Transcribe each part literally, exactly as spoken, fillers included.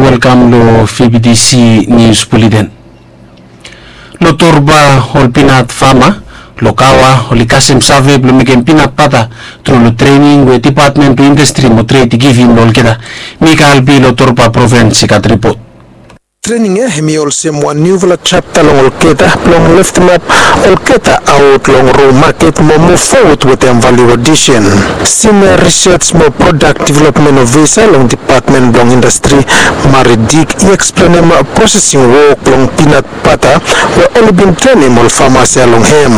Welkam long V B T C News Bulletin. Long Torba, ol pinat fama long Gaua oli kasem save blong mekem pinat bata tru long trening we Dipatmen blong Indastri mo Tred i givim long olgeta. Mika Albi long Torba provins i gat ripot. Trening ya hemi olsem wan niufala japta long olgeta blong leftemap olgeta aot long ro maket mo muv fowod wetem valiu adisen. Sinia Risej mo Prodak Developmen Ofisa long Dipatmen blong Indastri, Mari Dik, i eksplenem prosesing wok blong pinat bata we oli bin trenem ol famas ya long hem.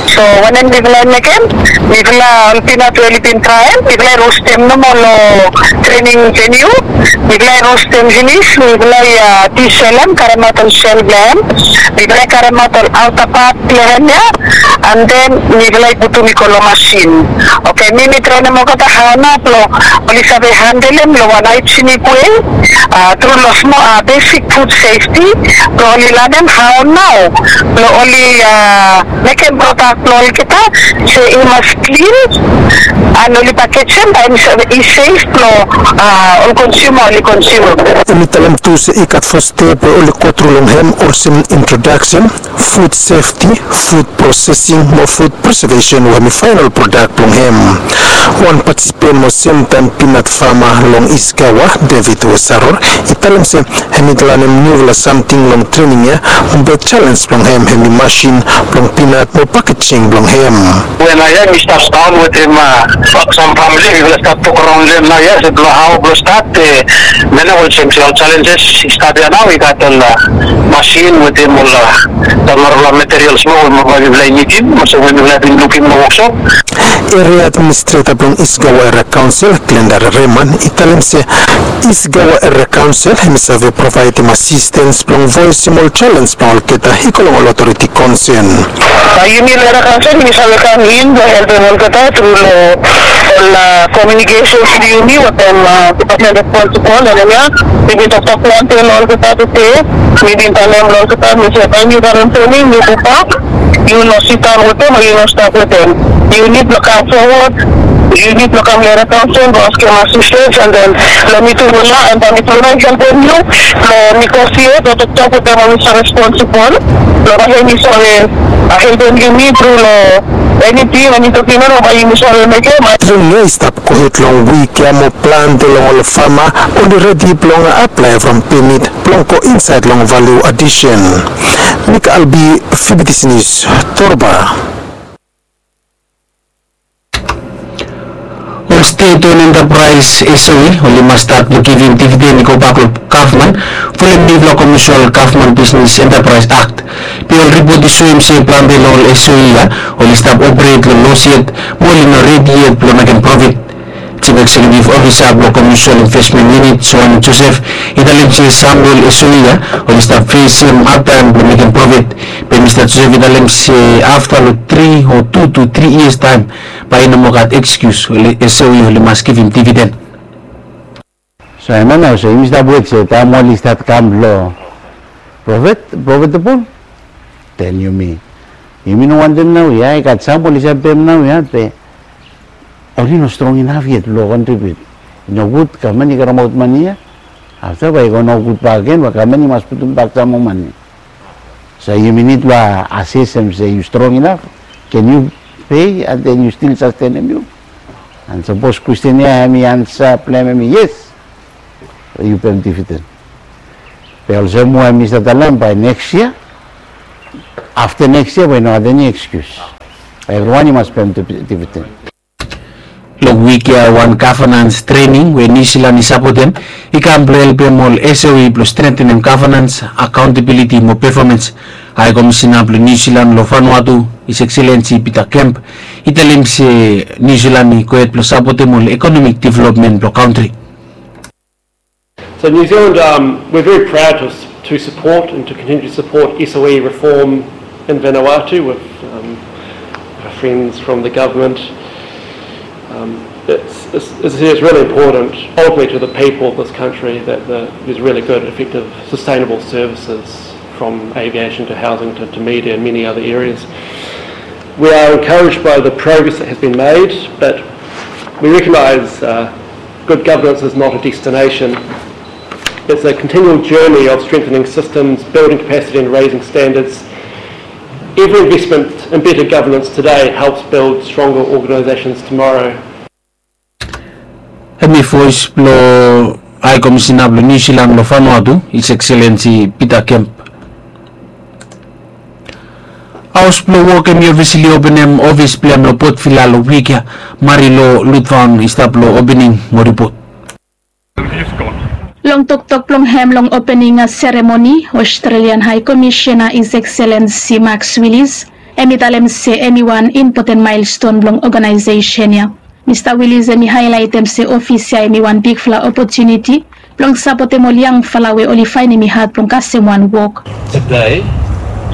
So wanem mifala i mekem? Mifala ol pinat we oli bin traem, mifala i rostem nomo long trening veniu. Mifala i rostem finis, mifala i, a, disolem, karemaot ol sel blong hem. Mifala i karemaot ol aota pat blong hem ya, and then mifala i putum i go long masin. Oke, mi mi trenem olgeta hao nao blong oli save handelem long wan haijenik wei, a, tru long smol, a, besik fud sefti, blong oli lanem hao nao blong oli, a, mekem prodak blong olgeta se i mas klin, and oli pakejem bae i save, i sef blong, a, ol konsiuma oli konsium. Hemi talem tu se i gat fo step we oli go tru long hem olsem introdaksen, fud sefti, fud prosesing mo fud presevesen we hemi faenol prodak blong hem. Wan patisipen mo semtaem pinat fama long Is Gaua, David Wesaror, i talem se hemi lanem niufala samting long trening ya, be jalenj blong hem hemi masin blong pinat mo pakejing blong hem. We naoia mi stap daon wetem, a, sam famili, mifala stap tokaraon long hem naoia se blong hao blong stat, e, mane olsem se ol jalenjes i stap ya nao, i gat ol, a, masin wetem ol, a, sam narafala materials moa we mifala i nidim, olsem we mifala bin lukim long woksop. Eria administreta blong Is Gaua Eria Kaonsel, Glenda Reman, i talem se Is Gaua Eria Kaonsel hemi save provaedem asistens blong voesem ol jalenj blong olgeta i go long ol otoriti konsen. Bae yumi long Eria Kaonsel yumi save kam in blong helpem olgeta tru long ol, a, komiunikesen blong yumi wetem, a, dipatmen responsibol long hem ya. Mi bin toktok plante long olgeta tede. Mi bin talem long olgeta, mi se bae yumi karem trening, mi gobak. Yu no sidaon wetem o yu no stap wetem. Yu nid blong kam fowod, yu nid blong kam long Eria Kaonsel blong askem asistens, and then lemi tu, mi tu nao helpem yu blong negosiet o toktok wetem ol we i save responsibol blong bae hemi save, a, helpem yumi tru long eniting, eni toking nao bae yumi save mekem. Trening ya i stap gohed long wik ya mo plante long ol fama oli redi blong aplae from pemit blong go insaed long valiu adisen. Mika Albi, V B T C Nius, Torba. Ol stet on entapraes, S O E, oli mas stat blong givim dividen i gobak long gavman folem niufala Komesil Gavman Bisnes Entapraes Akt. Be ol ripot i soem se plante long ol S O E ya oli stap operet long los yet mo oli no redi yet blong mekem profit. Jif Eksekiutiv Ofisa blong Komesil Invesmen Yunit, Joan Josef, i talem se sam blong ol S O E ya oli stap fesem hadtaem blong mekem profit. Be Mista Josef i talem se afta long tri o tu tu tri yias taem bae i no moa gat ekskius, ol S O E oli mas givim dividen. So hemia nao olsem yumi stap wet se taem oli stat kam long profit, profitable, then yumi, yumi no wantem naoia, i gat sam oli save pem naoia be oli no strong inaf yet blong kontribut. I nogud gavman i karemaot mane ya, afta bae i go nogud bakegen, bae gavman i mas putum bak sam moa mane. So yumi nid blong asesem se yu strong inaf, can yu pei and then yu stil sastenem yu? And sapos kwestin ya hemi ansa blong hem hemi yes, yu pem dividen. Be olsem we mi stap talem, bae neks yia, afta neks yia bae i no gat eni ekskius. Evriwan i mas pem div-, dividen. Long wik ya wan gavanans trening we Niu Silan i sapotem i kam blong helpem ol S O E blong strengtenem gavanans, akaontabiliti mo pefomans. Hae Komisina blong Niu Silan long Vanuatu, His Excellency Peter Kemp, i talem se Niu Silan i gohed blong sapotem ol ekonomik developmen blong kantri. So New Zealand, um, we're very proud to, to support and to continue to support S O E reform in Vanuatu with, um, our friends from the government. Um, it's, it's, it's, it's really important, ultimately, to the people of this country that the, there's really good, effective, sustainable services from aviation to housing to, to media and many other areas. We are encouraged by the progress that has been made, but we recognise, uh, good governance is not a destination. It's a continual journey of strengthening systems, building capacity and raising standards. Every investment in better governance today helps build stronger organisations tomorrow. Hemi voes blong High Commissioner blong New Zealand long Vanuatu, His Excellency Peter Kemp. Haos blong wok hemi ofisili openem ofis blong hem long Port Vila long wik ya. Marilou Ludvaun i stap long opening mo ripot. Long toktok blong hem long opening seremoni, Australian High Commissioner His Excellency Max Willis, hemi talem se hemi wan impoten milestone blong organization ya. Mista Willis hemi haelaitem se ofis ya hemi wan bigfala opotuniti blong sapotem ol yangfala we oli faenem i had blong kasem wan wok. Today,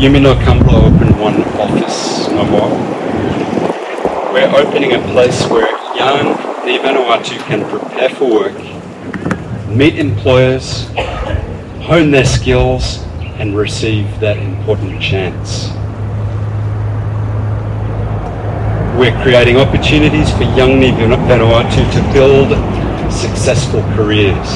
yumi no kam blong open wan ofis nomo. We're opening a place where young Ni Vanuatu can prepare for work, meet employers, hone their skills, and receive that important chance. We're creating opportunities for young Ni Vanuatu to build successful careers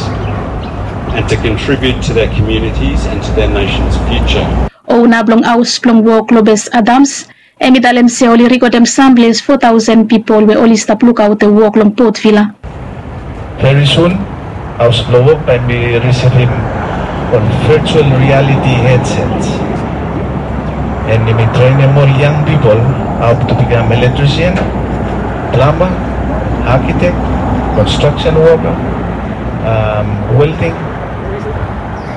and to contribute to their communities and to their nation's future. Ouna blong haos blong wok, Lopez Adams, hemi talem se oli rikodem samples fo taosen pipol we oli stap lukaotem wok long Port Vila. Very soon, haos blong wok bae hemi risivim ol virtual reality headsets. And yumi trenem ol yang pipol hao to become electrician, plumber, architect, construction worker, um, welding.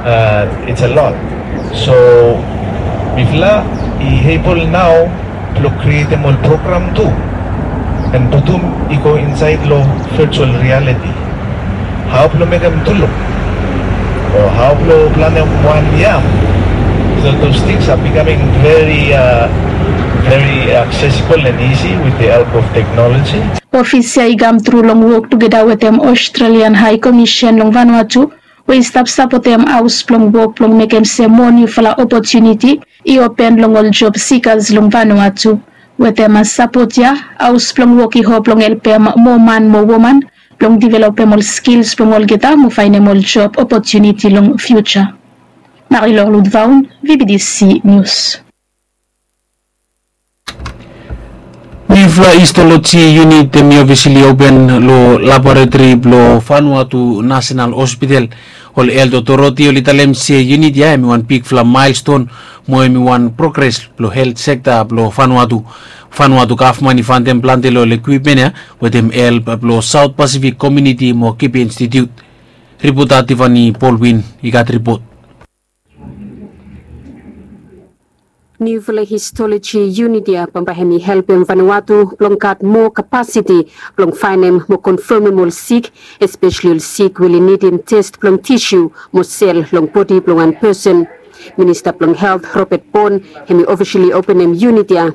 Uh, it's a lot. So mifala i able nao blong krietem ol program tu and putum i go insaed long virtual reality. Hao blong mekem tuluk o hao blong plantem wan yam. So those things are becoming very, uh, very accessible and easy with the help of technology. Ofis ya i kam tru long wok tugeta wetem Australian High Commission long Vanuatu, we i stap sapotem haos blong wok blong mekem se moa niufala opotuniti i open long ol job seekers long Vanuatu. Wetem sapot ya, haos blong wok i hop blong helpem moa man mo woman blong developem ol skils blong olgeta mo faenem ol job opotuniti long fiuja. Marilou Ludvaun, V B C News. Niufala histoloji yunit hemi ofisili open long laboratori blong Vanuatu National Hospital. Ol helt otoriti oli talem se yunit ya hemi wan bigfala milestone mo hemi wan progres blong helt sekta blong Vanuatu. Vanuatu gavman i fantem plante long ol ekwipmen ya wetem help blong South Pacific Community mo Kibe Institute. Ripota Tiffany Baldwin i gat ripot. Niufala histoloji yunit ya bambae hemi helpem Vanuatu blong gat moa kapasiti blong faenem mo konfamem ol sik, espeseli ol sik we oli nidim tes blong tisiu mo sel long bodi blong wan pesen. Minista blong Helt Robert Borne hemi ofisili openem yunit ya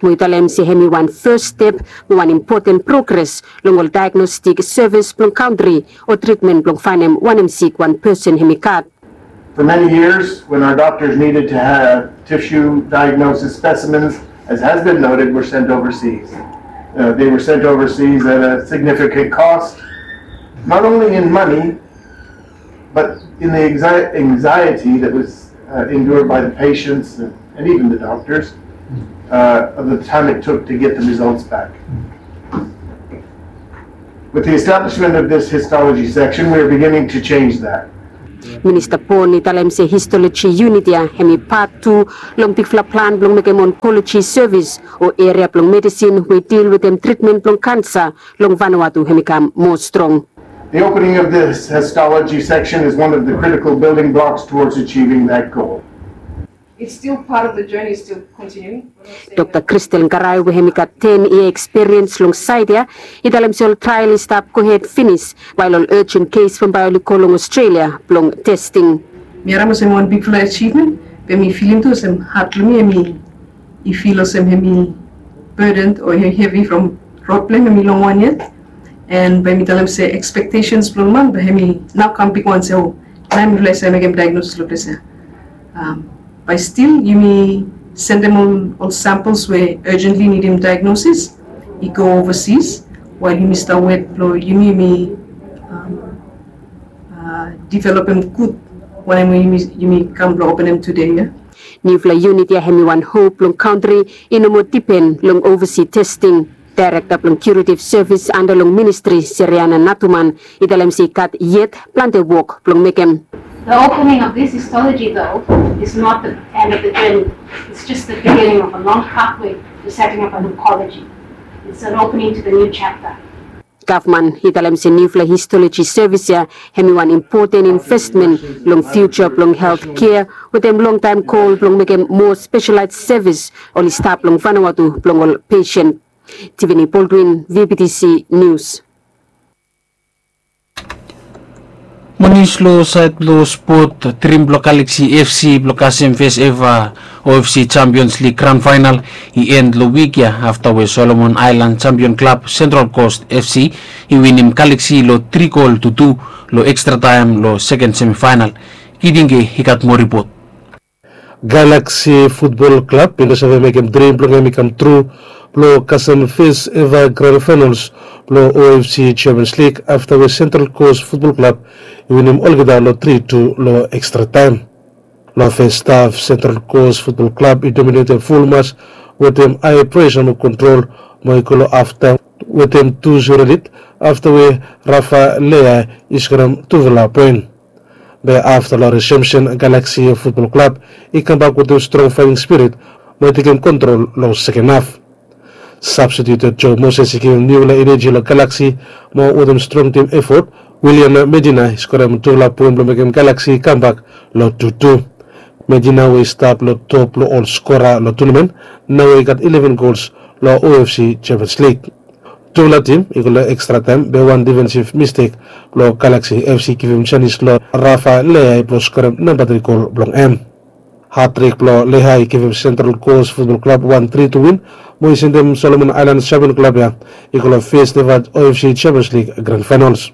mo i talem se hemi wan fes step mo wan impoten progres long ol daegnostik sevis blong kantri o tritmen blong faenem wanem sik wan pesen hemi gat. For many years, when our doctors needed to have tissue diagnosis specimens, as has been noted, were sent overseas. Uh, they were sent overseas at a significant cost, not only in money, but in the anxi- anxiety that was uh, endured by the patients and, and even the doctors uh, of the time it took to get the results back. With the establishment of this histology section, we are beginning to change that. Minista Borne i talem se histoloji yunit ya hemi pat tu long bigfala plan blong mekem onkoloji sevis o eria blong medisin we i dil wetem tritmen blong kansa long Vanuatu hemi kam moa strong. The opening of this histology section is one of the critical building blocks towards achieving that goal. It's still part of the journey, it's still continuing. Dokta Kristel Ngarai we hemi gat ten yia ekspiriens long saed ya i talem se ol trael i stap gohed finis wael ol urgent case bambae oli go long Australia blong testing. Mi harem olsem wan bigfala achievement, be mi filim tu olsem hat blong mi hemi i fil olsem hemi burden o hevi from rod blong hem hemi long wan yet. And bae mi talem se expectations blong ol man bae hemi nao kam bigwan se o, nao mifala i save mekem diagnosis long ples ya. Bae stil yumi sendem ol, ol samples we urgently nidim diagnosis i go overseas, wael yumi stap wet blong yumi, yumi Developem gud wanem we yumi kam blong openem tude ya. Niufala unit ya hem i wan hop blong kantri i no moa dipen long ovasi testing. Daerekta blong Curative Service anda long ministri, Seriana Natuman, i talem se i gat yet plante wok blong mekem. The opening of this histology, though, is not the end of the journey. It's just the beginning of a long pathway to setting up an oncology. It's an opening to the new chapter. Gavman i talem se niufala histoloji sevis ya hem i wan impoten investmen long fiuja blong helt kea wetem longtaem gol blong mekem moa speselaes sevis oli stap long Vanuatu blong ol pesen. Tiffany Baldwin, V B T C News. Mo nius long saed blong spot, drim blong Galaxy F C blong kasem fes eva O F C Champions League gran faenal i en long wik ya afta we Solomon Aelan Champion Klab Central Coast F C i winim Galaxy long tri gol tu tu long ekstra taem long seken semifaenal. Kitinge i gat moa ripot. Galaxy Futbol Klab i no save mekem drim blong hem i kam tru blong kasem fes eva gran faenals blong O F C Champions League afta we Central Coast Futbol Klab i winim olgeta long tri tu long ekstra taem. Long fes haf, Central Coast Futbol Klab i dominetem ful match wetem hae presa mo kontrol mo i go long haftaem wetem tu zero lid afta we Rafa Lea i skorem tufala poen. Be afta long resemsen, Galaxy Futbol Klab i kambak wetem strong faeting spirit mo i tekem kontrol long seken haf. Sabstitiut Joe Moses i givim niufala eneji long Galaxy mo wetem strong tim efot, William Medina i skorem tufala poen blong mekem Galaxy i kambak long tu tu. Medina we i stap long top blong ol skora long tunamen, nao i gat eleven gols long O F C Champions League. Tufala tim i go long ekstra taem be wan difensif mistek blong Galaxy F C givim janis long Rafa Lea blong skorem namba tri gol blong hem. Hatrik blong Lea i givim Central Coast Futbol Klab wan tri tu win mo i sendem Solomon Aelan Champion Klab ya i go long fes eva O F C Champions League gran faenals.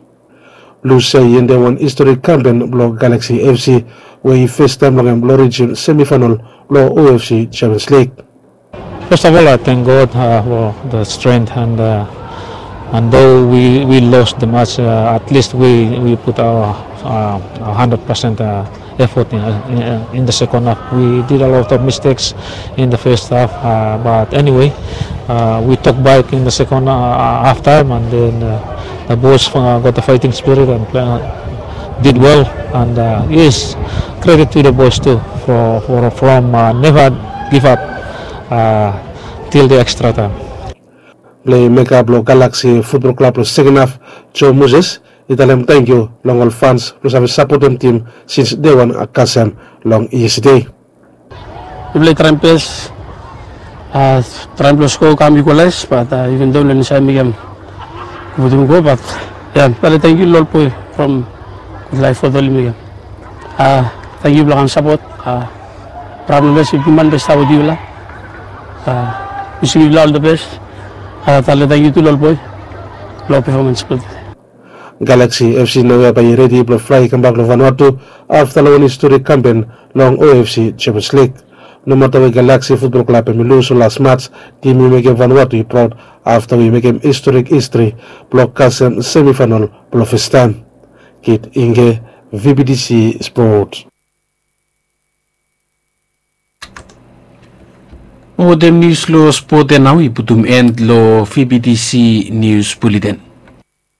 Lus ya i endem wan historik kampen blong Galaxy F C we i fes taem blong hem blong rijim semifaenal blong O F C Champions League. First of all, I thank God uh, for the strength and uh, and though we, we lost the match, uh, at least we, we put our uh, one hundred percent uh, effort in, in, in the second half. We did a lot of mistakes in the first half, uh, but anyway, uh, we took back in the second uh, half time, and then uh, the boys uh, got the fighting spirit and play, uh, did well. And uh, yes, credit to the boys too for, for from uh, never give up uh, till the extra time. Playmaker blong Galaxy Futbol Klab long seken haf, Joe Moses, i talem tangkiu long ol fans blong save sapotem tim sins dei wan kasem long yestede. Mifala i traem bes, traem blong sko kam igualaes, bat iven do mifala i no save mekem go putum go, bat ya mifala i tangkiu long ol boe from Gudlaef Fot oli mekem. Tangkiu blong kam sapot. Bravo Moses, bigman bes sapot yufala. Wishim yufala ol the best. Tale tangkiu tu long ol boe long performance blong tude. Galaxy F C naoia bae i redi blong flae kambak long Vanuatu afta long wan historik kampen long O F C Champions League. Nomata we Galaxy Futbol Klab hem i lus long las mats, tim i mekem Vanuatu i praod afta we i mekem historik histri blong kasem semifaenal blong fastaem. Kit Inge, V B T C Spot. Wetem nius long spot ya nao i putum en long V B T C Nius Buleten.